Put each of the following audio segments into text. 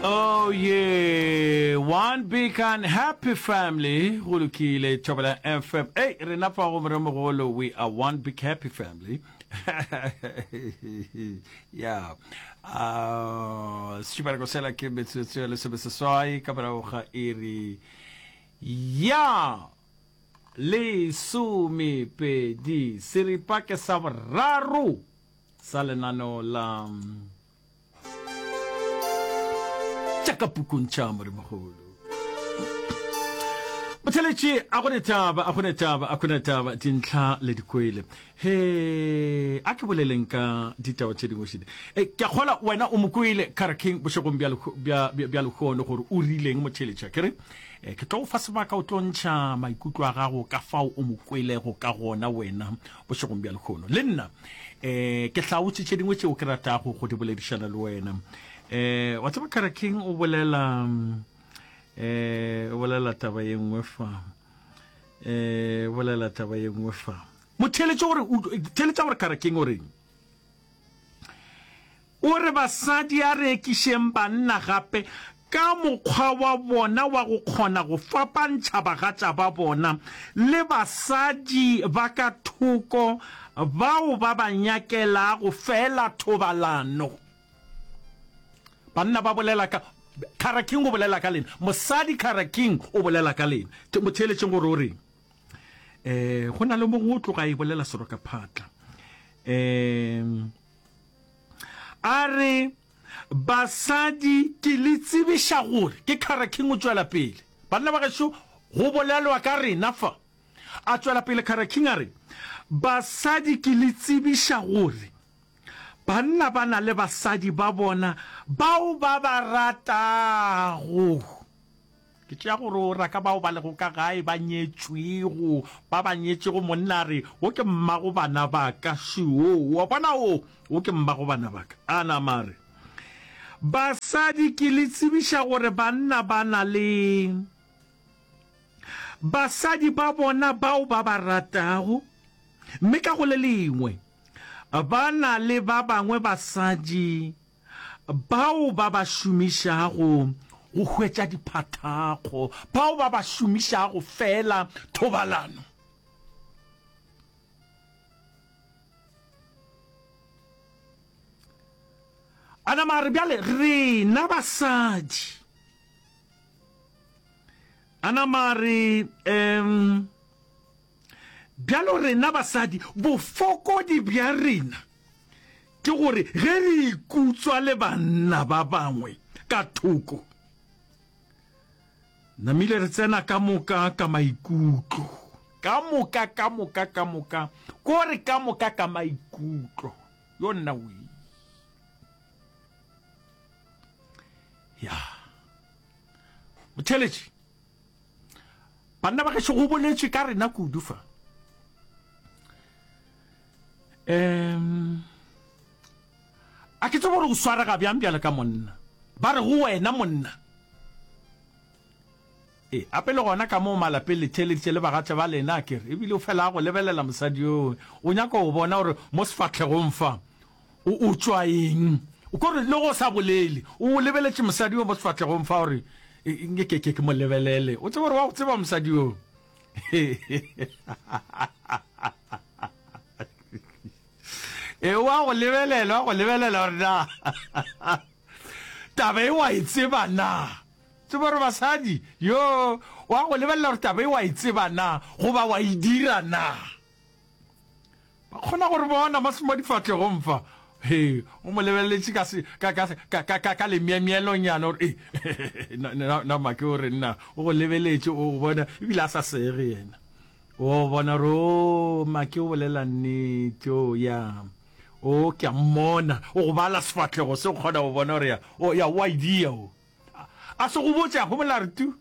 Oh yeah, one big and happy family. Go lokile, Thobela FM. Hey, rena fa go moremogolo, we are one big happy family. yeah. Uh, sešupanako sela ke metsotso ya lesomeseswai ka morago ga iri ya lesomepedi seripa ke sa boraro sa lenaneo la tša ka pukung tša Modimogolo. Motheletši a go ne taba, a go ne taba, a go ne taba, dintlha le dikwele. He, a ke boleleng ka ditaba tše dingwe šedi. E, ke a kgola wena o mo kwele Kara King bošegong bja bja bja lehono gore o rileng motheletši a kere. E, ke tlo go fa sebaka o tlo ntšha maikutlo a gago ka fao o mo kwelego ka gona wena bošegong bja lehono. Le nna um ke hlaotše tše dingwe tšeo ke ratago go di boledišana le wena. Um wa tseba Kara King o bolela um o bolela taba ye nngwe fa. Um o bolela taba ye nngwe fa. Mo theeletše gore theeletša gore Kara King o reng. O re basadi a re ekišeng banna gape ka mokgwa wa bona wa go kgona go fapantšha bagatša ba bona le basadi ba ka thoko bao ba ba nyakelago feela thobalano. Banna ba bolela ka, Kara King o bolela ka lena, mosadi Kara King o bolela ka lena. Mo theeletšeng gore o reng. Um go na le mongwe o tloga a e bolela serokaphatla. Um A re, Basadi, ke le tsebiša gore, ke Kara King o tšwela pele. Banna ba gešo, go bolelwa ka rena fa. A tšwela pele Kara King a re, Basadi, ke le tsebiša gore, banna ba na le basadi ba bona bao ba ba ratago. Ke tšea gore o ra ka bao ba lego ka gae ba nyetšwego, ba ba nyetšego monna a re, Wo ke mmago bana ba ka, šoo, wa bona wo, wo ke mmago bana ba ka. A nama a re, Basadi, ke le tsebiša gore banna ba na le basadi ba bona bao ba ba ratago, mme ka go le lengwe ba na le ba bangwe basadi Bao ba ba šomišago go hwetša diphathakgo, bao ba ba šomišago feela thobalano. A nama a re, Bjale rena basadi. A nama a re, um, Bjalo rena basadi, bofokodi bja rena ke gore ge re ikutswa le banna ba bangwe ka thoko, namile re tsena ka moka ka maikutlo. Ka moka, ka moka, ka moka, ko re ka moka ka maikutlo. Yo nna wee. Ya. Motheeletši. Banna ba gešo go boletšwe ka rena kudu fa. Um, a ke tsebe gore o swarega bjang bjale ka monna. Ba re go wena monna. E, ape le gona ka moo malapeng le theeleditše le bagatša ba lena a kere, ebile o fela a go lebelela mosadi yoo, o nyaka go bona gore mo sefahlegong fa O, o tšwa eng? O ko re le go sa bolele, o lebeletše mosadi yo mo sefahlegong fa gore nke ke ke ke mo lebelele. O tsebe gore wa go tseba mosadi yo. E wa go lebelela, wa go lebelela gore na taba e wa e tseba na. Tseba gore basadi yo wa go lebelela gore taba e wa e tseba na goba wa e dira na. Ba kgona go re bona mo, mo difahlegong fa. He, o mo lebeleletše ka, se, ka, ka, ka, ka, ka, ka lemyemyelonyana gore, e, na, na, na make o re nna, o go lebeletše, o bona, ebile a sa sege yena. O bona gore, o, make o bolela nnete, o, ya. O, ke a mmona, o go bala sefahlego se, o kgona go bona gore ya, o, ya, o a idea o. A se go botše, a homola a re tu.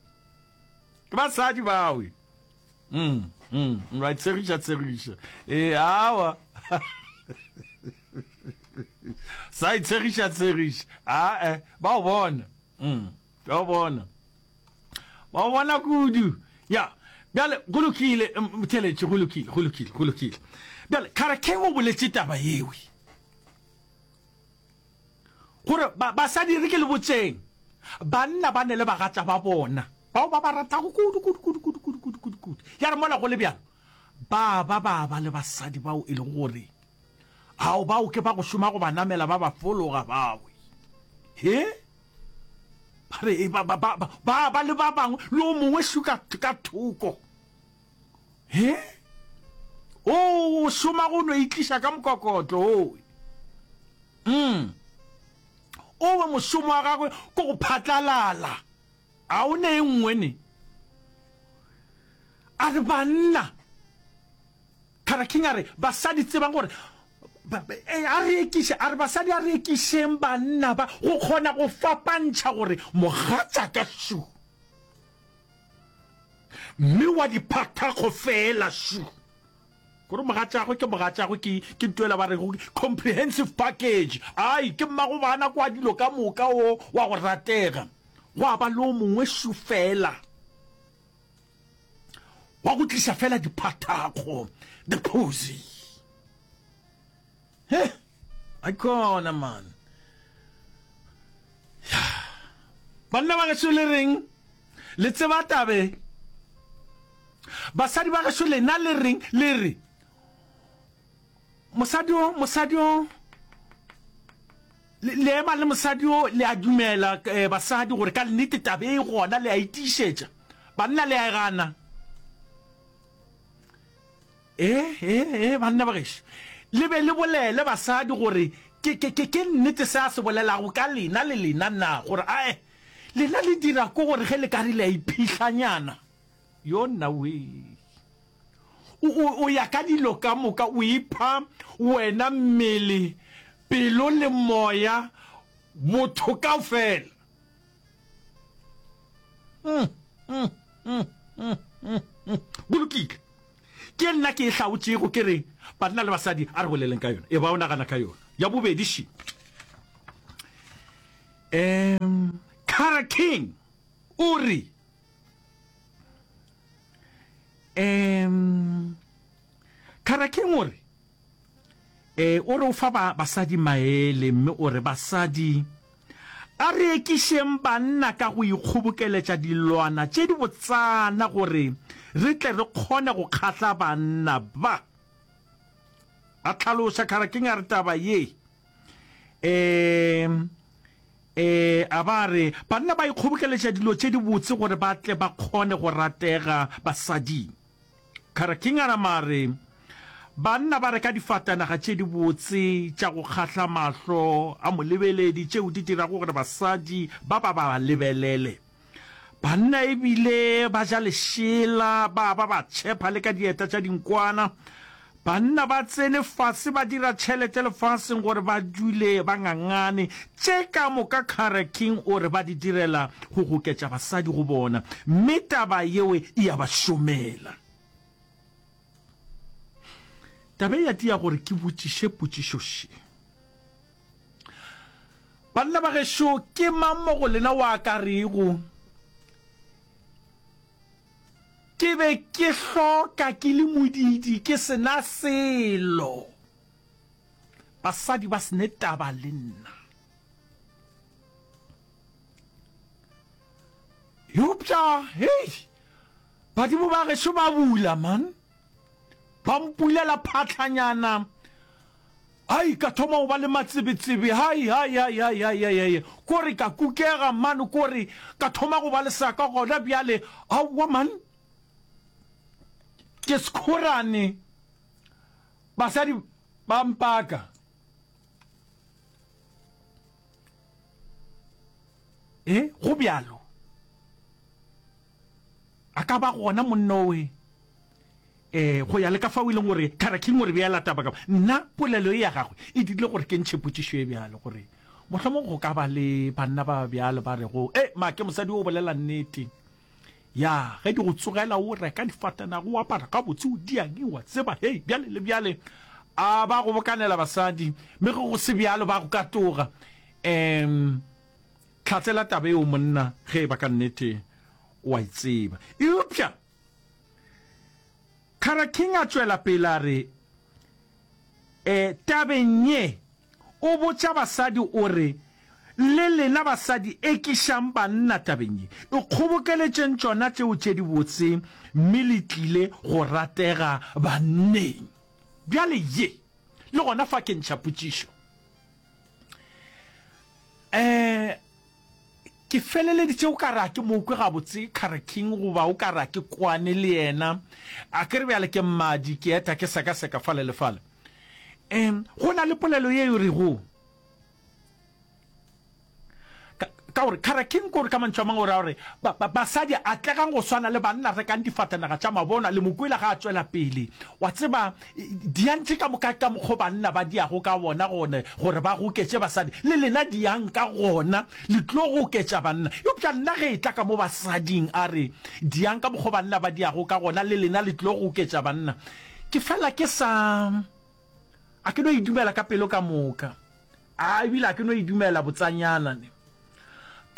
Ke basadi bawe. Mm, mm, ba tshegiša tshegiša. E awa. Sa itshegiša tshegiša. A eh ba o bona. Mm, ba o bona. Ba o bona kudu. Ya. Bjale go lokile motheletši go lokile go lokile go lokile. Bjale Kharakeng o boletše taba yewe. Gore basadi re ke le botseng. Banna ba ne le bagatša ba bona bao ba ba ratago kudu, kudu, kudu, kudu, kudu, kudu, kudu, kudu. Ya re mola go le bjalo, ba ba ba ba le basadi bao e lego gore, ao, bao ke ba go šoma go ba namela ba ba fologa bao. He? Ba re, ba, ba, ba, ba ba le ba bangwe, le o mongwe šu ka, ka thoko. He? O, o šoma go no itliša ka mokokotlo, owe. Mm. Owe mošomo wa gagwe ke go phatlalala. A o ne e nngwe ne? A re banna. Cara King a re basadi tsebang gore a re ekiše, a re basadi a re ekišeng banna ba go kgona go fapantšha gore mogatšaka šu mme wa diphathakgo feela šu. Gore mogatšagwe ke mogatšagwe ke ke ntho ela ba rego comprehensive package. Ai ke mmago bana kwa dilo ka moka o wa go ratega. Gwa ba le o mongwe šu feela wa go tliša fela diphathakgo, the posy. He, aikhona man. Ya. Banna ba gešo le reng? Le tseba tabe? Basadi ba gešo lena le reng? Le re mosadi o, mosadi o, le, le ema le mosadi o, le a dumela eh, basadi gore ka nnete tabe e gona, le a itiišetša. Banna le a e gana. Ee, ee, ee, banna ba gešo, le be le bolele basadi gore ke, ke, ke, ke nnete se a se bolelago ka lena le lena na, gore ae, lena le dira ko gore ge le ka re le a iphihlanyana. Yo nna wee. O, o, o ya ka dilo ka moka, o ipha wena mmele, pelo le moya, botho kaofela. Mm, mm, mm, mm, mm, mm. Go lokile. Ke nna ke e hlaotšego, ke re, banna le basadi, a re boleleng ka yona. E ba o nagana ka yona. Ya bobedi še. Um, Cara King o re, um, Cara King o re, E, o re o fa ba, basadi maele, mme o re, Basadi, a re ekišeng banna ka go ikgobokeletša dilwana tše di botsana gore re tle re kgone go kgahla banna ba. A hlaloša Kharakeng a re taba ye, e, e, a ba a re, banna ba ikgobokeletša dilo tše di botse gore ba tle ba kgone go ratega basading. Kharakingana mare, Banna ba reka difatanaga tše dibotse tša go kgahla mahlo a molebeledi tšeo di dirago gore basadi ba ba ba lebelele. Banna e bile ba ja lešela, ba ba ba tšhepha le ka dieta tša dinkwana. Banna ba tsene fase ba dira tšhelete lefaseng gore ba dule ba ngangane. Tše ka moka Cara King o re ba di direla go goketša basadi go bona, mme taba yeo e a ba šomela. Taba e ya tia gore ke botšiše potšišo še. Banna ba gešo, ke mang mo go lena wa ka rego, Ke be ke hloka ke le modiidi, ke se na selo. Basadi ba se ne taba le nna. Eupša, hei, badimo ba gešo ba bula, man. Ba mpulela phatlhanyana. Ai, ka thoma go ba le matsebetsebe. Hai, hai, hai, hai, hai, hai, hai. Kore ka kukega, man, kore ka thoma go ba le saka gona bjale. Aowa, man. Ke sekhorane. Basadi ba mpaka. E, go bjalo. A ka ba gona monna owe. Ee, go ya le ka fao e leng gore Cara King o re beela taba ka. Nna polelo ye ya gagwe e dirile gore ke ntšhe potšišo e bjalo gore mohlomong go ka ba le banna ba bjalo ba rego, E, make mosadi o bolela nnete. Ya, ge di go tsogela o reka difatanaga, o apara gabotse, o diang, wa tseba, hei, bjale le bjale. A ba go bokanela basadi, mme ge go se bjalo ba go katoga. Um, hlatsela taba eo monna ge e ba ka nnete o a e tseba. Eupša Cara King a tšwela pele a re, E, tabeng ye, o botša basadi o re, Le lena basadi ekišang banna tabeng ye. Ikgobokeletšeng tšona tšeo tše dibotse mme le tlile go ratega banneng. Bjale ye, le gona fa ke ntšha potšišo. Um ke feleleditše o ka re a ke mo kwe gabotse Cara King goba o ka re a ke kwane le yena. A ke re bjale ke mmadi, ke eta ke sekaseka fale le fale. Um go na le polelo ye e rego, Ka, ka gore Cara King kore ka mantšu a mangwe o ra gore ba, ba, basadi atlegang go swana le banna rekang difatanaga tša mabona le mo kwela ga a tšwela pele. Wa tseba, diang tše ka moka ka mokgo banna ba diago ka wona gone gore ba goketše basadi, le lena diang ka gona le tlo goketša banna. Eupša nna ge e tla ka mo basading a re diang ka mokgo banna ba diago ka gona le lena le tlo goketša banna, ke fela ke sa. A ke no e dumela ka pelo ka moka. A ebile a ke no e dumela botsanyana ne.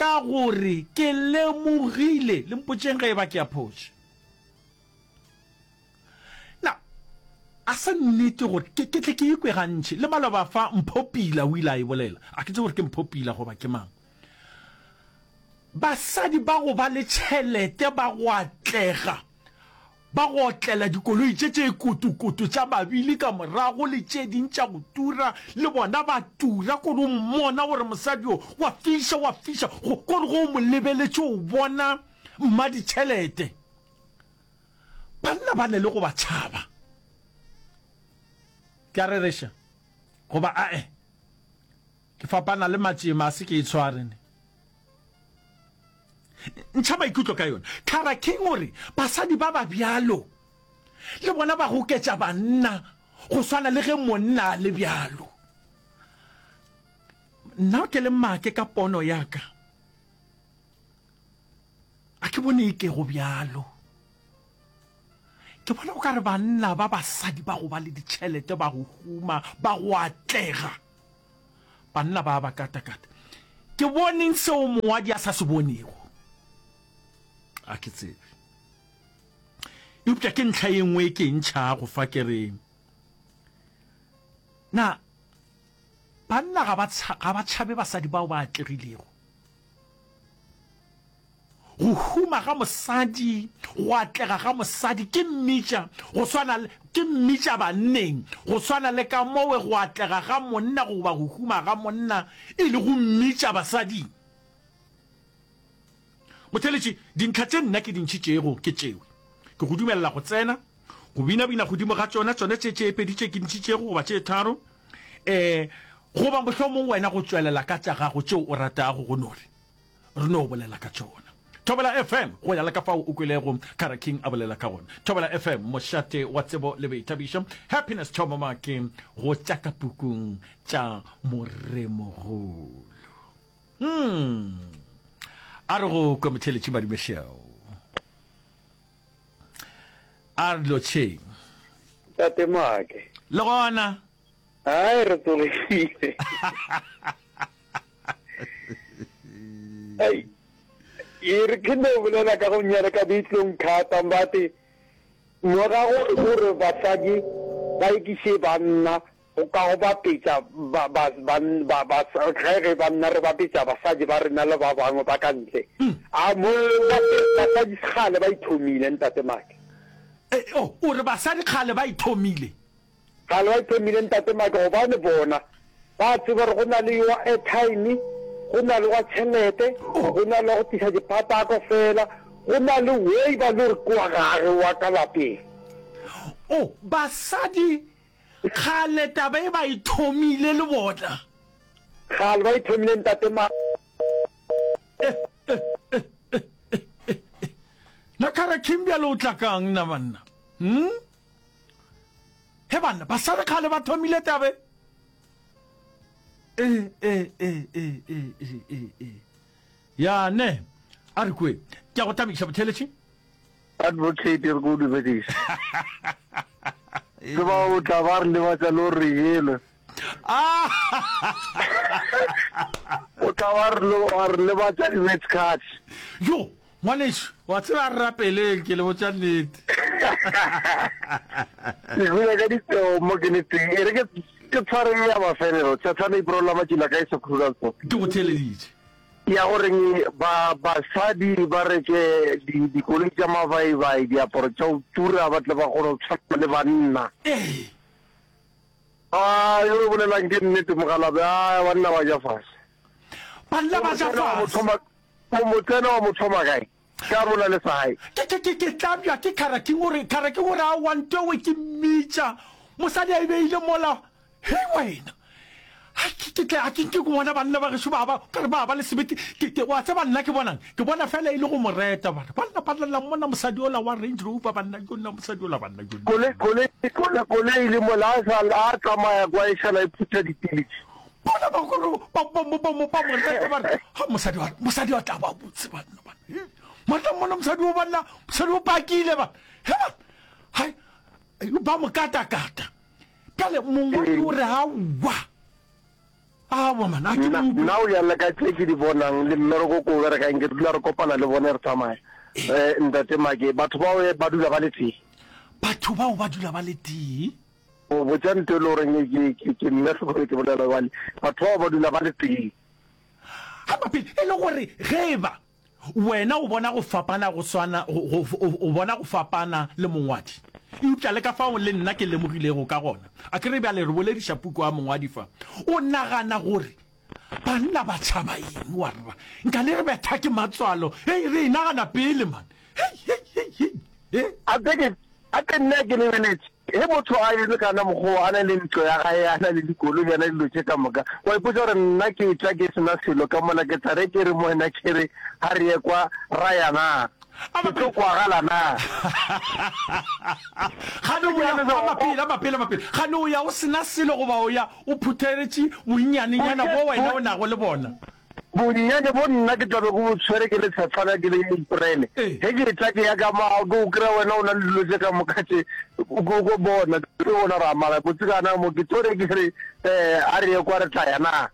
Ka gore ke lemogile, le mpotšeng ge eba ke a phoša. Na a se nnete gore ke, ke tle ke ikwe gantši? Le maloba fa Mpho Pila o ile a e bolela. A ke tsebe gore ke Mpho Pila goba ke mang. Basadi ba go ba le tšhelete ba go atlega Ba go otlela dikoloi tše tše kotokoto tša mabili ka morago le tše ding tša go tura, le bona ba tura. Kore o mmona gore mosadi yo wa fiša, wa fiša. Go, kore ge o mo lebeletše o bona mmaditšhelete. Banna ba ne le go ba tšhaba. Ke a rereša goba ae? Ke fapana le matšema, a se ke e tshware ne. Ntšha maikutlo ka yona. Clara King o re, Basadi ba ba bjalo le bona ba goketša banna go swana le ge monna a le bjalo. Nna ke le make ka pono ya ka, a ke bone e ke go bjalo. Ke bona o ka re banna ba basadi ba go ba le ditšhelete, ba go huma, ba go atlega, Banna ba ba katakata. Ke boneng seo mongwadi a sa se bonego? A ke tsebe. Eupša ke ntlha ye nngwe e ke e ntšhago fa ke re, na banna ga ba, ga ba tšhabe basadi bao ba atlegilego? Go huma ga mosadi, go atlega ga mosadi ke mmitša go swana le, ke mmitša banneng, go swana le ka mowe go atlega ga monna goba go huma ga monna e le go mmitša basading. Motheeletši, dintlha tše nna ke di ntšhitšego ke tšewe. Ke go dumelela go tsena, go binabina godimo ga tšona, tšona tše tše pedi tše ke ntšhitšego goba tše tharo, eh, goba mohlomong wena go tšwelela ka tša gago tšeo o ratago go no re. Re no bolela ka tšona. Thobela FM, go ya le ka fao o kwelego Kara King a bolela ka gona. Thobela FM, mošate wa tsebo le boithabišo. Happiness Thomo Make, go tša ka pukung tša Moremogolo. Hmm. A re go kwe motheeletši Madumešeo. A re lotšheng. Tate Make. Le gona. Hai re tsogile. Ei, e re ke no bolela ka go nyala ka ditlong thata mbate morago gore basadi ba ekiše banna go ka go bapetša ba ba ba ba ba ge ge banna re bapetša basadi ba rena le ba bangwe ba ka ntle a mo basadi kgale ba ithomile ntate Make. Eh, oh, o re basadi kgale ba ithomile. Kgale ba ithomile Ntate Mike gobane bona ba tseba gore go na le wa airtime, go na le wa tšhelete, go na le wa go tliša diphatako fela, go na le way ba le gore ke wa gage wa ka lapeng. Oh, basadi kgale taba e ba e thomile le bona. Kgale ba e thomile Ntate Mike. Na Kara King bjale o tla kang na banna? Hmm? He banna, basadi kgale ba thomile tabe. E, e, e, e, e, e, e, e. Ya ne, a re kwe. Ke a go thabiša botheletši. Advocate re ko dumediša. Tseba o tla ba re lebatša le gore re jelwe. O tla ba re lebatša di-match cards. Yo, Ngwanešu, wa tseba a re rapeleng, ke le botša nnete. Ke hula ka ditseo mo ke le teng. E re ke. Ke tshware ye ya mafelelo, Tshatsana Iprolla Matšila kae Sekhurulantsho. Ke go theeleditše. Ya goreng ba basadi ba reke di dikoloi tša mabaibai, diaparo tša go tura ba tle ba kgone go tshwana le banna. Ee. A yo o bolelang ke nnete mokgalabje, a banna ba ja fase. Banna ba ja fase. O mo tsena wa mo thoma kae? Ka mola le sa gae. Ke, ke, ke, ke tlabja ke Kara King o re, Kara King o re, aowa ntowe ke mmitša. Mosadi a e beile mola. Hei wena. Hai, ke, ke tle, a ke nke ke bona banna ba gešo ba ba, ka re ba ba le sebete. Ke, ke, wa tseba nna ke bonang? Ke bona fela e le go mo reta. Ba re, banna ba lla mona mosadi ola wa Range Rover, banna, yo nna mosadi ola, banna, yo nna. Koloi, koloi, koloi, koloi le mola a sa, a tsamaya kwa e šala e phutha dipilisi. Bona ba gore ba ba mo ba mo ba mo reta ba re ha mosadi wa mosadi wa tla ba botse banna ba monna monna mosadi o banna mosadi o pakile ba he ba hai ba mo kata kata pele mongwe o re ha wa awa man a ke mo nna o ya le ka tse ke di bonang le mmereko ko berekang ke dula re kopana le bone re tsamaya eh ntate make batho bao ba dula ba le tee batho bao ba dula ba le tee O botša nto e le goreng ke, ke, ke nna hlogong ke bolela bjale. Batho bao ba dula ba le tee. Gape pele, e le gore ge e ba wena o bona go fapana go swana, go, go, o, o bona go fapana le mongwadi, eupša le ka fao le nna ke lemogilego ka gona, a ke re bjale re bolediša puku ya mongwadi fa, o nagana gore banna ba tšhaba eng? Wa re ba, nka le re betha ke matswalo. Hei, re e nagana pele, man. Hei, hei, hei, hei. Eh? A ke, ke, a ke nna ke lebeletše. Ge motho a eme ka na mokgwa wo, a na le ntlo ya gae, a na le dikoloi, a na le dilo tše ka moka, wa ipotša gore nna ke tla ke se na selo ka mola, ke tla re ke re mo wena ke re ga re ye kwa ra ya na? Ke tlo kwagala na? Gane o ya, mapele, mapele, mapele. Gane o ya o se na selo goba o ya o phutheletše bonnyanenyana bo wena o nago le bona? Bonnyane bo nna ke tla be ke bo tshwere ke le tshefana ke le April. Ge ke etla ke ya ka mo ke o kry-a wena o na le dilo tše ka moka tše ko ko bona ke bona ra mara botse kana mo ke tlo re ke re um a re ye kwa re tla ya na.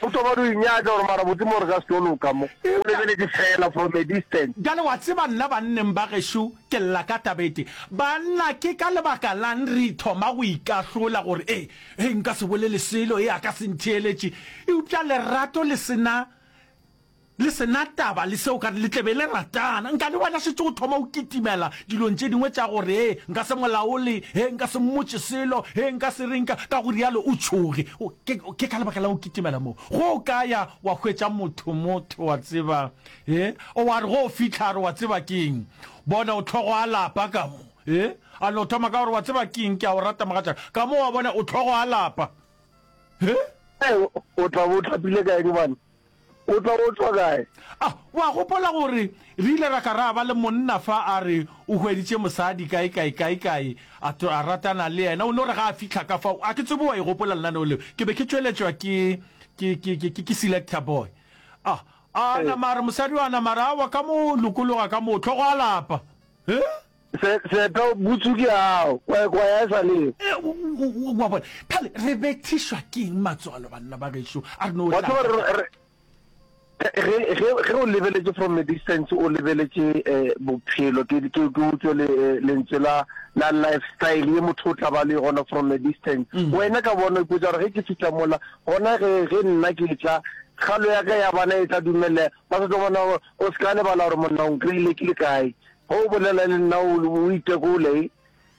O thoma o inyatša gore mara botse mo re ka se tlo loka mo. O lebeletše fela from a distance. Bjale wa tseba nna banneng ba gešo ke lla ka taba e tee. Banna ke ka lebaka lang re thoma go ikahlola gore ee Hei, nka se bolele selo, e a ka se ntheeletše. Eupša lerato le se na, le se na taba le seo, ka re le tle be le ratana. Nka le wena šetše o thoma o kitimela dilong tše dingwe tša gore, Hei, nka se mo laole, hei, nka se mmotše selo, hei, nka se reng, ka, ka go rialo o tšhoge. O, ke, ke ka lebaka la go kitimela moo. Go o ka ya wa hwetša motho, motho, wa tseba, he, o wa re go o fihla a re, Wa tseba ke eng? Bona, o hlogo a lapa ka mo. E, a no thoma ka gore, Wa tseba ke eng, ke a o rata, mogatšaka. Ka mo wa bona, o hlogo a lapa. He? Ee, o tla bo o thapile ka eng, bana? O tla bo o tšwa kae? A, wa gopola gore re ile ra ka ra ba le monna fa a re o hweditše mosadi kae, kae, kae, kae, a, a ratana le yena. O no re ga a fihla ka fao, a ke tsebe wa e gopola lenaneo leo. Ke be ke tšweletšwa ke, ke, ke, ke, ke, ke Selector Boy. A, a nama a re mosadi wa nama a re, Aowa, ka mo lokologa ka mo, hlogo a lapa. He? Se, seeta butsu ke ao, kwa, kwa ya e sa leo. E, o, o, o, wa bona. Phale, re bethišwa ke eng matswalo, banna ba gešo? A re no Wa tseba, re, re, ge, ge, ge o lebeletše from a distance, o lebeletše eh, bophelo, ke, ke, ke utswe le, eh, lentswe la, la lifestyle ye motho o tla ba le gona from a distance. Mm. Wena ka bona o ipotša gore ge ke fihla mola, gona ge, ge nna ke tla, kgalo ya ka ya bana e tla dumelela, ba sa tlo bona gore o se ka lebala gore monna o nkry-ile ke le kae. Ge o bolela le nna o, o itekole,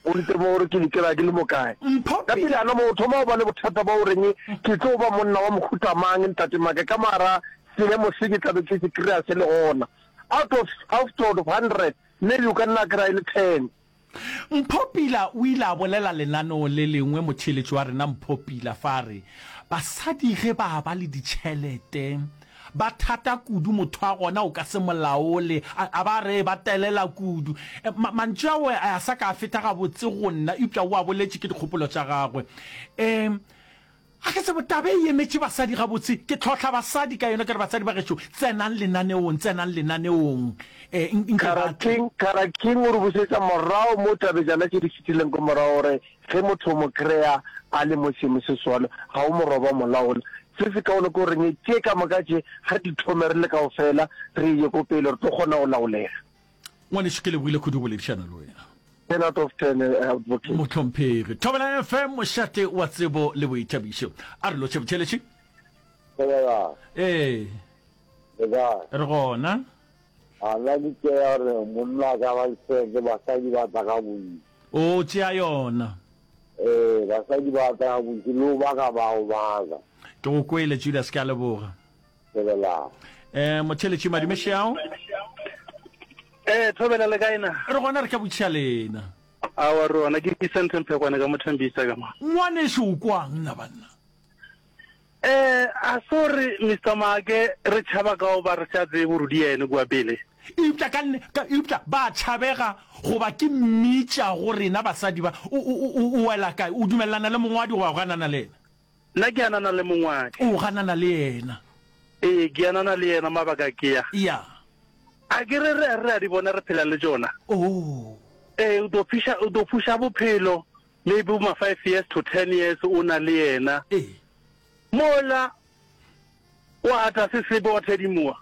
o ntemo gore ke dikela ke le mo kae. Mpho Ka pele ana mo o thoma go ba le bothata ba o reng ke tlo ba monna wa mohuta mang ntate Make ka mara seemo se ke tlabe ke se kry-a se le gona. Out of, out of 100 maybe o ka nna kry-a e le ten. Mpho Pila o ile a bolela lenaneong le lengwe motheeletši wa rena Mpho Pila fa a re, Basadi ge ba ba le ditšhelete ba thata kudu motho wa gona o ka se mo laole, a, a ba re ba telela kudu. Ma, mantšu ao a sa ka a feta gabotse go nna eupša o a boletše ke dikgopolo tša gagwe. Um Ga ke tsebe, taba e emetše basadi gabotse. Ke tlhohla basadi ka yona, ke re, Basadi ba gešo, tsenang lenaneong, tsenang lenaneong. E, nke ba tle. Kara King, Kara King o re bušetša morago mo tabejana tše di fetileng ko morago gore ge motho o mo kry-a a le mo seemo se swalo, ga o mo roba molaola. Se se kaone ke goreng tše ka moka tše ga re di thome re le kaofela re ye ko pele re tlo kgona go laolega. Ngwanešu, ke lebogile kudu go boledišana le wena. 10 out of 10 eh, advocate. Mohlomphegi. Thobela FM, mošate wa tsebo le boithabišo. A re lotšhe botheletši. Thobela. Ee. Le kae? Re gona. A nna ke tšea gore monna a ka ba seke basadi ba tla ka bontši. O tšea yona. Ee, basadi ba tla ka bontši le go baka ba go baka. Ke go kwele Julius, ke a leboga. Thobela. Eh, motheletši madume šeao. Eh, thobela le kae na? Re gona re ka botšiša lena. Awa re gona ke Vincent Mphekwane ka Mothambisa ka mo. Ngwanešu o kwang nna banna? Eh, a se gore Mister Maake re tšhaba ka goba re sa tsebe gore di ene kua pele. Eupša ka nne, ka, eupša ba tšhabega goba ke mmitša go rena basadi ba. O, o, o, o wela kae? O dumelelana le mongwadi goba o ganana le yena? Nna ke anana le mongwadi. O ganana le yena? Ee, ke anana le yena, mabaka ke a. Ya. A ke re re, re a di bona re phela le tšona. Oh. Ee, o tlo fiša, o tlo fuša bophelo maybe bo ma five years to ten years o na le yena. Ee. Mola wa ata se sebe wa thedimoa,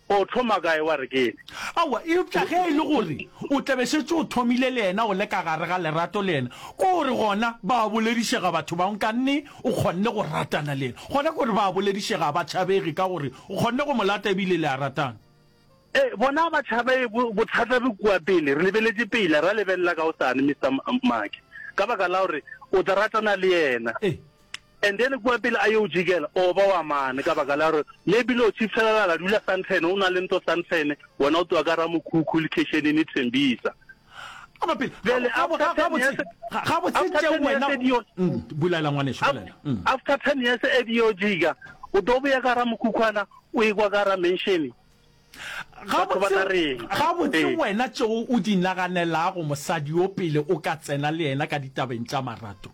o thoma kae wa re ke ene? Aowa, eupša ge e le gore o tla be šetše o thomile le yena o le ka gare ga lerato le yena, ke gore gona ba a boledišega batho ba nkanne o kgonne go ratana le yena. Gona ke gore ba a boledišega, ga ba tšhabege ka gore o kgonne go mo lata ebile le a ratana. Ee, bona ba tšhabe bothata bo kua pele, re lebeletše pele, ra lebelela ka gosane, Mister Make, ka baka la gore o tla ratana le yena. And then kua pele a yo jikela, o ba wa mane, ka baka la gore maybe le o chiefela la dula Sandton, o na le ntlo Sandton, wena o tloga ka Ramokhukhu lekeišeneng Tembisa. Bjale after 10 years, gabotse tšeo wena bolela ngwanešu, bolela. After 10 years e di yo jika, o tlo boya ka Ramokhukhwana, o ekwa ka Ramenšene. Batho ba tla reng? Gabotse wena tšeo o di naganelago mosadi yo pele o ka tsena le yena ka ditabeng tša marato,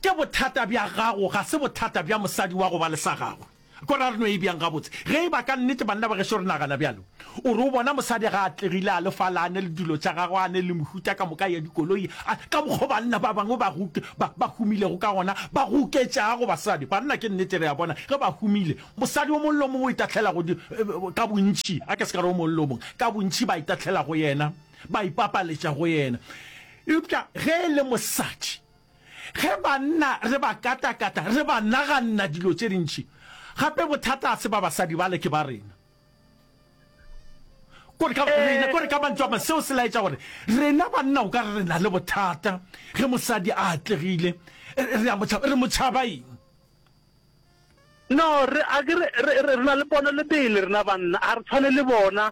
ke bothata bja gago, ga se bothata bja mosadi wa go ba le sa gagwe. Kore a re no e bjang gabotse? Ge e ba ka nnete banna ba gešo re nagana bjalo, o re o bona mosadi ga a atlegile, a le fale a ne le dilo tša gagwe, a ne le mehuta ka moka ya dikoloi, a, ka mokgo banna ba bangwe ba, ba, ba humilego ka gona, ba goketšago basadi. Banna ke nnete re a bona ge ba humile, Mosadi o mongwe le o mongwe o itahlela go di, ka bontši, a ke se ka re o mongwe le o mongwe, ka bontši ba itahlela go yena, ba ipapaletša go yena. Eupša ge e le mosadi, ge banna re ba katakata, re ba naganna dilo tše dintši, gape bothata ga se ba basadi bale, ke ba rena. Kore ka, rena, kore ka mantšu a mangwe, seo se laetša gore rena banna o ka re re na le bothata ge mosadi a atlegile, re a mo tšhaba. Re mo tšhaba eng? No, re, a ke re, re, re, re na le pono le pele rena banna, a re tshwane le bona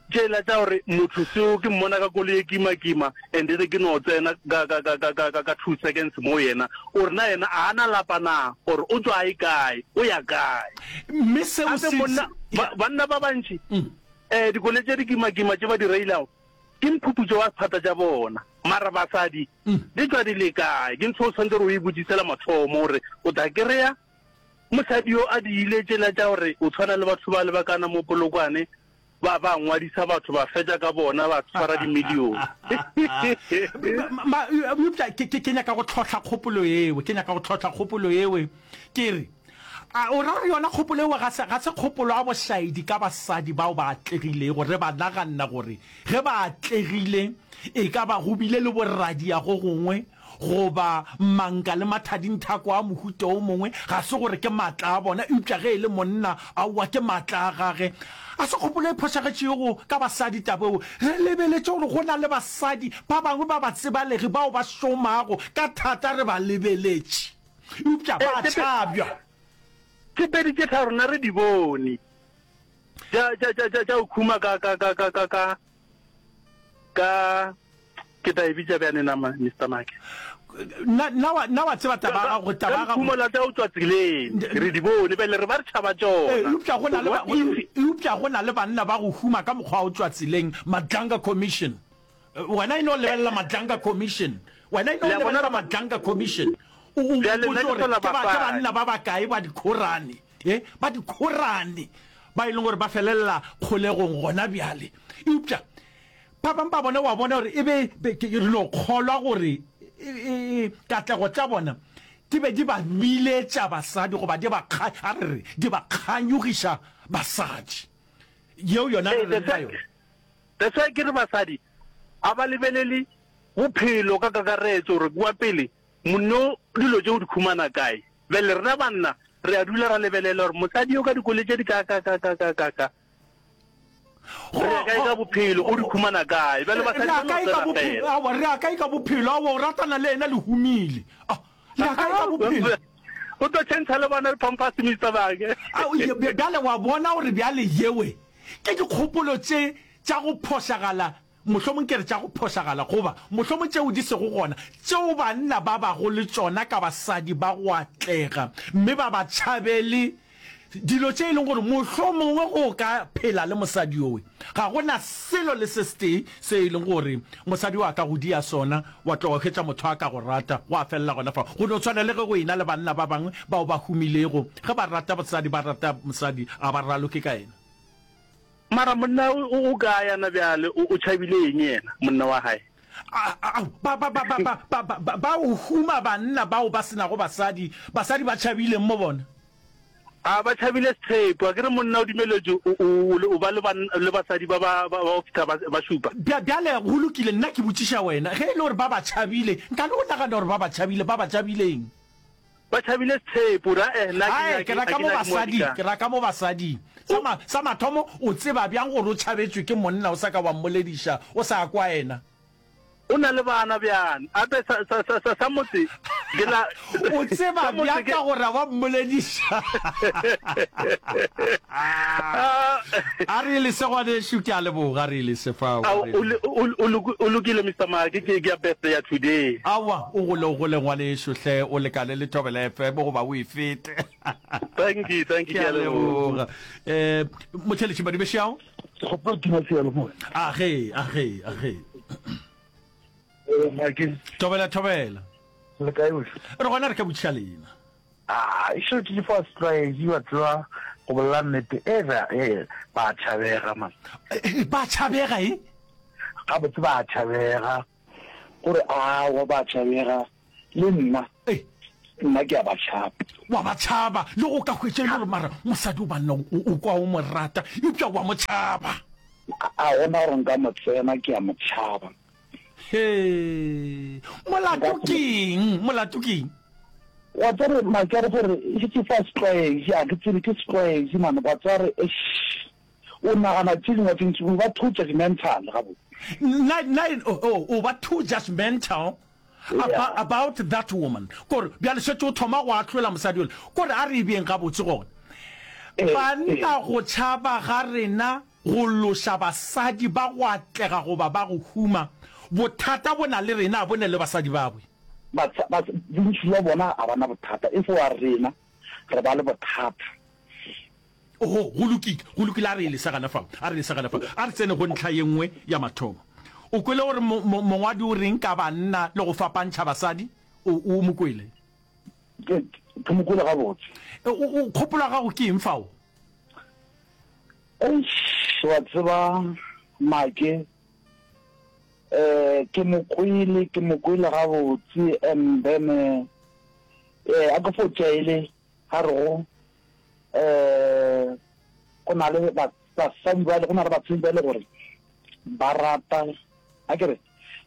tšela tša gore motho seo ke mmona ka koloi e kima-kima and then ke no tsena ka, ka, ka, ka, ka, ka, ka two seconds mo yena, o re na yena a na lapa na, or o tšwa a e kae, o ya kae. Mme seo Gape se, monna, se, ba, banna ba bantši, eh, dikoloi tše di kima-kima tše ba di reilago, ke mphuputšo wa sephata tša bona. Mara basadi, di tšwa di le kae? Ke ntho o tshwanetse gore o e botšise la mathomo gore o tla kry-a mosadi yo a di ile tšela tša gore o tshwana le batho ba le ba kana mo Polokwane ba ba ngwadisa batho ba fetša ka bona ba tshwara dimilione. Eupša ke, ke, ke nyaka go tlhohla kgopolo yeo, ke nyaka go tlhohla kgopolo yeo, ke re, a o ra gore yona kgopolo yeo ga se, ga se kgopolo ya bošaedi ka basadi bao ba atlegilego, re ba naganna gore Ge ba atlegile, e ka ba go bile le boradia go gongwe, goba manka le mathadinthako a mohuta o mongwe, ga se gore ke maatla a bona, eupša ge e le monna, aowa, ke maatla a gage. A se kgopolo e phošagetšego ka basadi taba eo. Re lebeletše gore go na le basadi ba bangwe ba batsebalegi bao ba šomago ka thata re ba lebeletše, eupša ba a tšhabja. Tše pedi tše tharo rena re di bone. Tša, tša, tša, tša, tša go khuma ka, ka, ka, ka, ka, ka, ka, ke tla e bitša bjane na, Mister Make? Na, na wa, na wa tseba taba ya gago, taba ya gago. Ka la tša go tšwa tseleng, re di bone, bjale re ba re tšhaba tšona. Eupša go na le ba, eupša go na le banna ba go huma ka mokgwa wa go tšwa tseleng, Madlanga Commission. Wena e no lebelela Madlanga Commission. Wena e no lebelela Madlanga Commission. O, o Bjale nna mpotše ke gore sola ke ba, ke basadi. banna ba bakae ba dikhorane, e, ba dikhorane ba e leng gore ba felelela kgolegong gona bjale. Eupša ba bangwe ba bona, wa bona gore e be, be, ke, re no kgolwa gore e, e, e, katlego tša bona di be di ba biletša basadi goba di ba kga, a re re, di ba kganyogiša basadi. Yeo yona re Ee, reng that's ka why, yona? that's why ke re basadi a ba lebelele. Bophelo ka kakaretšo gore kua pele monno dilo tše o di khumana kae. Bjale rena banna re a dula ra lebelela gore mosadi yo ka dikoloi tše di ka ka ka ka ka ka ka re ya kae ka bophelo o di khumana kae. Bjale basadi ba no tsena fela. Aowa re ya kae ka bophelo aowa o ratana le yena le humile ah le ya kae ka bophelo. O tlo tšhentšha le bona di-pampers Mister Bake. Bjale wa bona gore bjale yewe ke dikgopolo tše tša go phošagala Mohlomong ke re tša go phošagala, goba mohlomong tšeo di sego gona, tšeo banna ba bago le tšona ka basadi ba go atlega, mme ba ba tšhabele dilo tše e leng gore mohlomongwe go ka phela le mosadi yowe, ga go na selo le se setee se e leng gore mosadi yo a ka go dia sona, wa tloga hwetša motho a ka go rata, gwa felela gona fao. Go no tshwana le ge go ena le banna ba bangwe bao ba humilego, ge ba rata mosadi, ba rata mosadi, ga ba raloke ka yena. Mara monna o o kae yana bjale? O o tšhabile eng yena monna wa hae? Ao, ba, ba, ba, ba, ba, ba, ba, ba, ba o huma banna bao ba se nago basadi, basadi ba tšhabileng mo bona? A ba tšhabile sethepu, a ke re monna o dumeletšwe o, o, o ba le ban, le basadi ba, ba, ba, ba go fihla ba, ba šupa. Bja, bjale, go lokile, nna ke botšiša wena, ge e le gore ba ba tšhabile, nka le o nagana gore ba ba tšhabile, ba ba tšhabileng? Ba tšhabile sethepu, ra eh, nna ke Ae, ke nyake, ra a ka ke mo nyake mo basading, dika. ke ra ka mo basading. Sa ma, sa mathomo, o tseba bjang gore o tšhabetšwe ke monna o sa ka wa mmolediša, o sa kwa yena? O na le bana bjang? Ape sa, sa, sa, sa, sa motse ke la, O tseba sa motse bjang ke. ka gore a wa mmolediša? Ah. A re lese ngwanešu, ke a leboga, a re lese fao, a Ao, re o, lese. o, o, o lokile Mister Maake, ke, ke ya birthday ya today. Aowa, o gole, o gole ngwanešu hle, o lekane le Thobela FM goba o e fete. Thank you, thank you, Ke ke a a leboga. leboga. Eh, motheletši Madibešao? Ke kgopela tima seyalemoya. A ge, a ge, a ge. Eh, Maake. Thobela, thobela. Le kae wešo? Re gona re ka botšiša lena. Ah, e šetše ke fa setlwaedi wa tseba go bolela nnete e ba e ba tšhabega man. Ba tšhabega e? Gabotse ba tšhabega. Gore awa ba tšhabega le nna. Nna ke a ba tšhaba. Wa ba tšhaba le go ka hwetša e le gore mara mosadi o banna o kwa o mo rata eupša wa mo tšhaba. A gona gore nka mo tsena ke a mo tšhaba. Hee, molato ke eng? Molato ke eng? Wa tseba Makere gore e šetše fa setlwaedi, a ke tsebe ke setlwaedi mane, wa tseba re eish, o nagana tše dingwe tše ntši, o ba too judgemental gabotse. Nna, nna, oh, oh, o ba too judgemental about, about that woman. Kore bjale šetše o thoma go ahlola mosadi yola. Kore a re e beeng gabotse gona. Banna go tšhaba ga rena Go loša basadi ba go atlega goba ba go huma, bothata bo na le rena, a bo ne le basadi babwe. Ba, ba, bontši bja bona ga ba na bothata, e fo wa rena re ba le bothata. Oho, go lokile, go lokile, a re e lese gana fa, a re lese gana fa. A re tsene go ntlha ye nngwe ya mathomo. O kwele gore mo, mo, mongwadi o reng ka banna le go fapantšha basadi? O, o mo kwele? Ke, ke mo kwele gabotse. O, o, kgopolo ya gago ke eng fao? Eish, wa tseba Make, eh, ke mo kwele, ke mo kwele gabotse, and then, eh, a ke fo tšaele ga re go, eh, go na le basadi ba, go na le basadi ba e le gore ba rata, a ke re,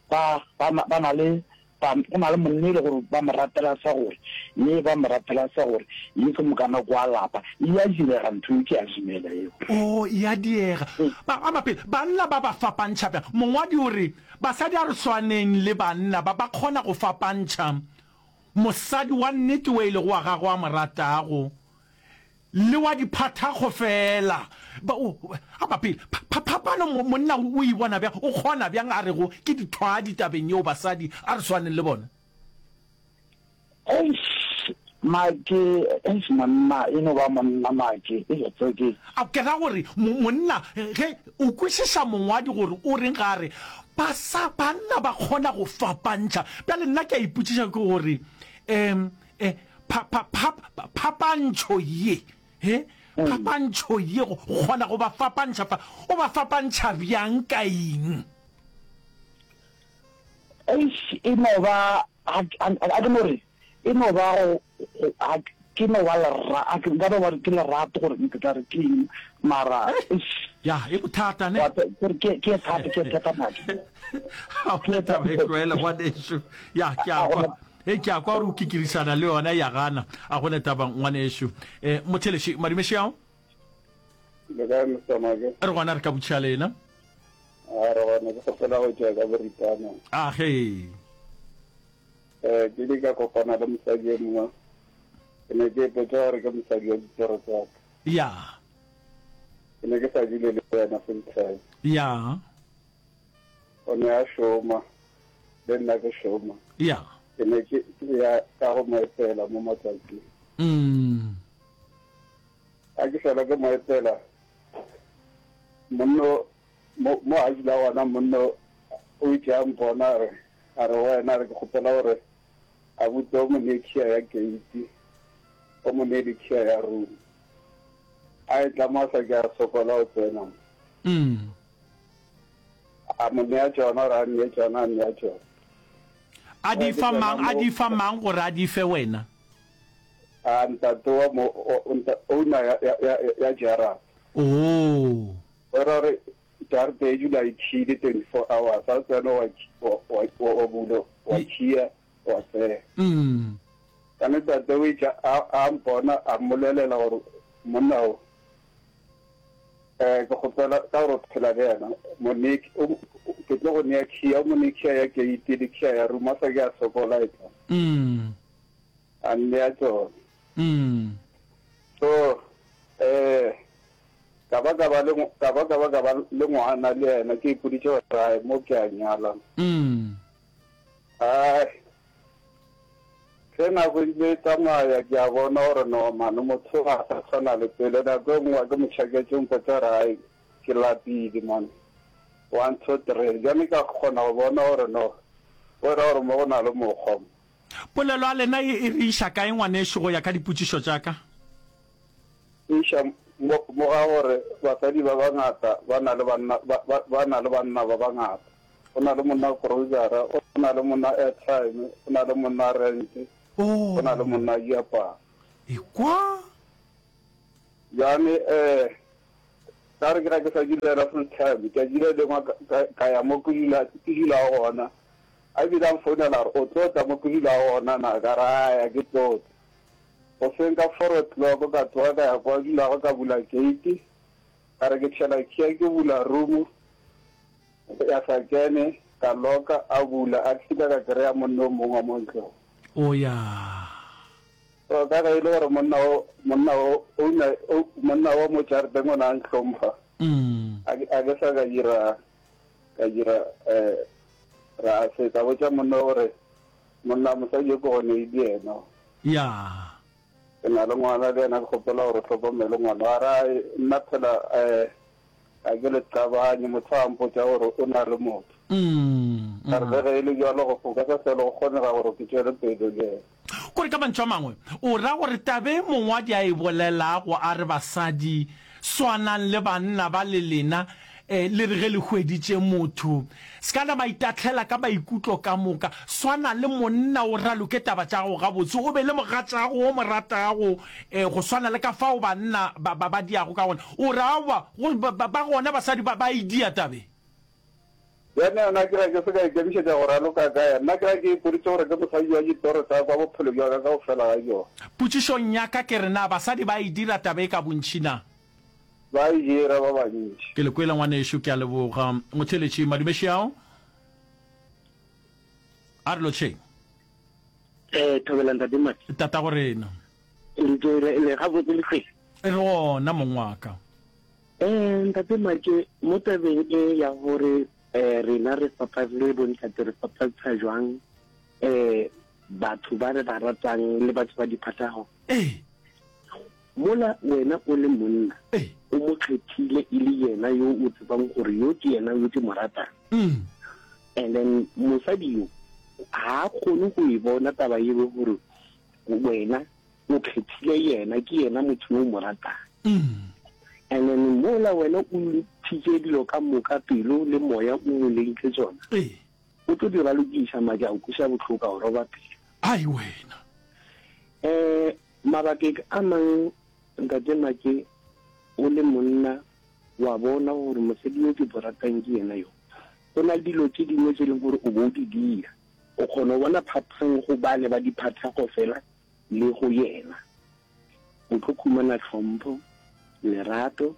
ba, ba, ba na le Ba, go na le monna e le gore ba mo ratela sa gore, ye ba mo ratela sa gore, ye ke mokana kwa lapa. E a direga ntho eo, ke a dumela eo. Oo, e a diega. Ba, ba mapele, banna ba ba fapantšha bjang? Mongwadi o re, Basadi a re swaneng le banna ba, ba kgona go fapantšha mosadi wa nnete wo e lego wa gagwe a mo ratago, Le wa diphathakgo feela. Ba, o, a bapele. Pha, pha, phapano, mo, monna o, o e bona bjang? O kgona bjang a rego ke dithwadi tabeng yeo basadi a re swaneng le bona? Eish, Make, eish, monna, e no ba monna, Make. Eish, tseo ke. A ke ra gore, mo, monna, ge, o kwešiša mongwadi gore o reng ga a re, basa, banna ba kgona go fapantšha. Bjale nna ke a ipotšiša ke gore, um, E, pha, pha, pha, phapantšho ye, he, phapantšho ye, go kgona go ba fapantšha fa, o ba fapantšha bjang ka eng? Eish, e no ba, a, a, a ke no re, e no ba go, go, a, ke no ba lera, a ke, nka no ba ke lerato gore ke tla re ke eng, mara, eish. Ya, e bothata ne. Wa ke ke ke thata ke thata madi. Ha o taba e tlwaele ngwanešu. Ya, ke a kwa. E ke a kwa gore o kikirisana le yona ya gana. A gone taba ngwanešu. Eh motheleši madumeši ao. Le kae Mr. Make? Re gona re ka botšha lena. A re gona ke kgopela go tšea ka boripana. A ge. Eh ke ile ka kopana le mosadi e mongwe. Ke ne ke ipotša gore ke mosadi wa ditoro tsa ka. Ya. Ke ne ke sa dule le yena full time. Ya. O ne a šoma, le nna ke šoma. Ya. Ke ne ke ya ka go mo etela mo matšatšing. Mm. A ke fela ke mo etela, monno mo mo a dula gona monno o itše a mpona a re a re wena a re ke kgopela gore abuti o mo nee khiya ya keiti o mo nee le khiya ya room. A etla mo a sa ke a sokola go tsena mo. Mm. A mo nea tšona gore a nnee tšona, a nnea tšona. A di fa mang, a di fa mang gore a di fe wena? A ntate wa mo, owner ya, ya, ya, ya jarata. Oh. O ra gore jarata e dula e khile 24 hours, a tsena wa, wa, wa, wa bula, wa khiya, wa tsena. Mm. Ka ne tate o itše a, a mpona, a mmolelela gore monna o, eh, ke kgopela ka gore o phela le yena, mo nee, o, ke tlo go nea khiya, o mo nee khiya ya keiti le khiya ya room, a sa ke a sokola e tla. Mm. A nnea tsona. Mm. So, eh, ka ba ka ba le, ka ba ka ba ka ba le ngwana le yena, ke ipoditše gore ai, mo ke a nyala. Mm. Ai, Ge nako e ntse e tsamaya, ke a bona gore no man, motho ga a sa tshwana le pele. Nako e nngwe ke mo tšhaketše, o mpotša gore hai, ke lapile man, one, two, three. Bjale ka kgona go bona gore no, go ra gore mo go na le mokgwa mo. Polelo ya lena e e re iša kae ngwanešu go ya ka dipotšišo tša ka? E iša mo, mo ga gore basadi ba bangata ba na le banna, ba, ba, ba na le banna ba bangata. Go na le monna grocery, go na le monna airtime, go na le monna rent, go na le monna diaparo. Ekwa. Bjale eh ka re ke ga ke sa dula full time, tšatši le lengwe ka ya mo ke dula ke dulago gona. A bile a mfounela gore o tlo tla mo ke dulago gona na, ka re aya ke tlo tla. Goseng ka 4 o'clock ka tsoga ka ya kwa dulago ka bula gate, ka re ke tšhela key ke bula room. Ya sa kene, ka loka, a bula, a fihla ka kry-a monna o mongwe wa mo ntlong. O ya. So ka ge e le gore monna o, monna o, owner, o, monna wa mo jarateng o ne a ntlhompha, a ke, a ke sa ka dira, ka dira, eh, ra se, ka botša monna gore, monna, mosadi yo ke go neile yena. Ya. Ke na le ngwana le yena, ke kgopela gore o hlokomele ngwana. A re, Ai, nna phela, eh, Ga ke le qabanye, motho a mpotša gore o na le motho. Ka re, Le ge e le bjalo, go ka se hlwe go kgonega gore ke tšwele pele le yena. Kore ka mantšu a mangwe, o ra gore taba e mongwadi a e bolelago a re basadi swanang le banna ba le lena le re ge le hweditše motho se ka nama itahlela ka maikutlo ka moka, swana le monna o raloke taba tša gago gabotse, o be le mogatšago o mo ratago go swana le ka fao banna ba, ba, ba diago ka gona. O re aowa, go, ba, ba, ba gona basadi ba, ba e dia tabe. Bjale nna ke ra ke se ka ikemišetša go raloka ka yena. Nna ke ra ke ipoditše gore ke mosadi wa ditoro tša ka bophelo bja ka kaofela ga bjona. Potšišong ya ka ke re na basadi ba e dira taba e ka bontši na? Ba e dira ba bantši. Ke le kwele ngwanešu, ke a leboga. Motheeletši, madumeši ao. A re lotšheng. Eh, thobela ntate Mati. Tatago rena. Le le le gabotse le tlhwele. Re gona mong wa ka. Eh, ntate Make, mo tabeng e ya gore eh rena re fapa le bontate re fapantsha jwang eh batho ba re ba ratang le batho ba diphathago. Ee. Mola wena o le monna, o mo kgethile e le yena yo o tsebang gore yo ke yena yo ke mo ratang. And then mosadi yo ga a kgone go e bona taba yeo gore wena o kgethile yena, ke yena motho yo o mo ratang. And then mola wena o ntšhitše dilo ka moka, pelo le moya o mo neile tšona, o tlo di ralokiša madi a go kweša bohloko, a go roba pelo. Ai wena. Um Mabakeng a mang, Ntate Make, o le monna. wa bona gore mosadi yo ke mo ratang ke yena yo. Go na le dilo tše dingwe tše e leng gore o bo o di dira, o kgona go bona phapang go bale ba di phathago fela le go yena. O tlo khumana tlhompho, lerato,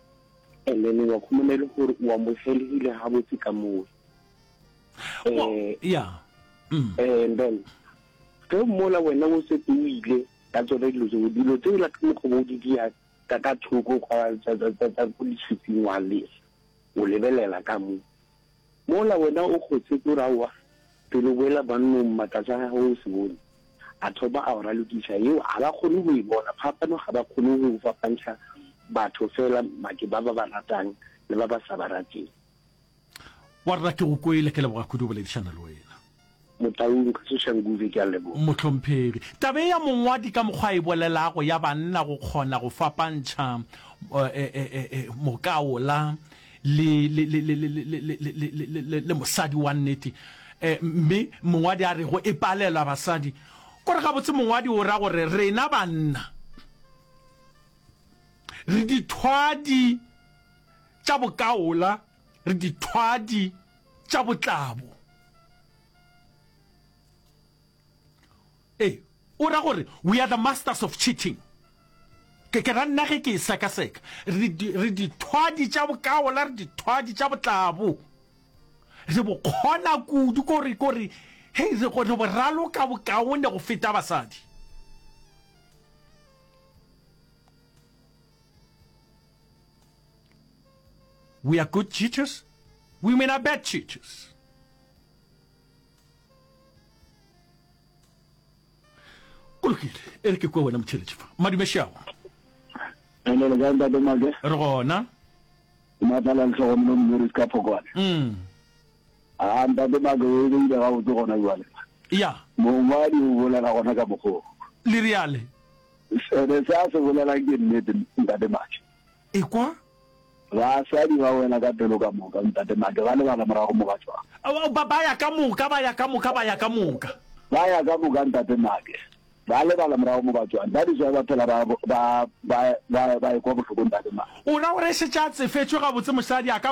and then wa khumana e le gore o amogelegile gabotse ka mowe. Eh, yeah. Mm. And then ge mola wena o setse o ile ka tsone dilo tseo, dilo tseo la ka mokgwa bo o di dia ka ka thoko kwa tsa tsa tsa tsa ko letshwifing wa lesa o lebelela ka mo mola wena o kgotse ko raowa pele o boela bannong matlase a gago o se bone a thoma a o ralokiša yeo ga ba kgone go e bona phapano ga ba kgone go fapantšha batho fela make ba ba ba ratang le ba ba sa ba rateng Warra ke go kwele, ke leboga kudu go boledišana le wena. Motaung ka Soshanguve ke a leboga. Mohlomphegi, taba ye ya mongwadi ka mokgwa a e bolelago ya banna go kgona go fapantšha mokaola le, le, le, le, le, le, le, le, le, le mosadi wa nnete, mme mongwadi a rego e palelwa basadi, kore gabotse mongwadi o ra gore rena banna re dithwadi tša bokaola, re dithwadi tša botlabo. Ee, o ra gore we are the masters of cheating. Ke, ke ra nna ge ke e sekaseka. Re, re dithwadi tša bokaola, re dithwadi tša botlabo. Re bo kgona kudu, kore, kore, hei, re, re bo raloka bokaone go feta basadi. We are good cheaters, women are bad cheaters. Go lokile, e re ke kwe wena motheeletši fa. Madume Šago. Ene le kae ntate Make? Re gona. Matlala Lehlogonolo Morris ka Phokwane. Mm. A ntate Make o e beile gabotse gona jwale. Ya. Mongwadi o bolela gona ka mokgwa. Le riale. Ene se a se bolelang ke nnete ntate Make. Ekwa. Basadi ba wela ka pelo ka moka, ntate Make, ba lebala morago mo ba tšwago. Ba, ba ya ka moka, ba ya ka moka, ba ya ka moka. Ba ya ka moka, ntate Make, ba lebala morago mo ba tšwang. That is why ba phela ba, ba, ba, ba, ba ekwa bohloko, ntate Make. O ra gore e šetše a tsefetšwe gabotse mosadi a ka ba.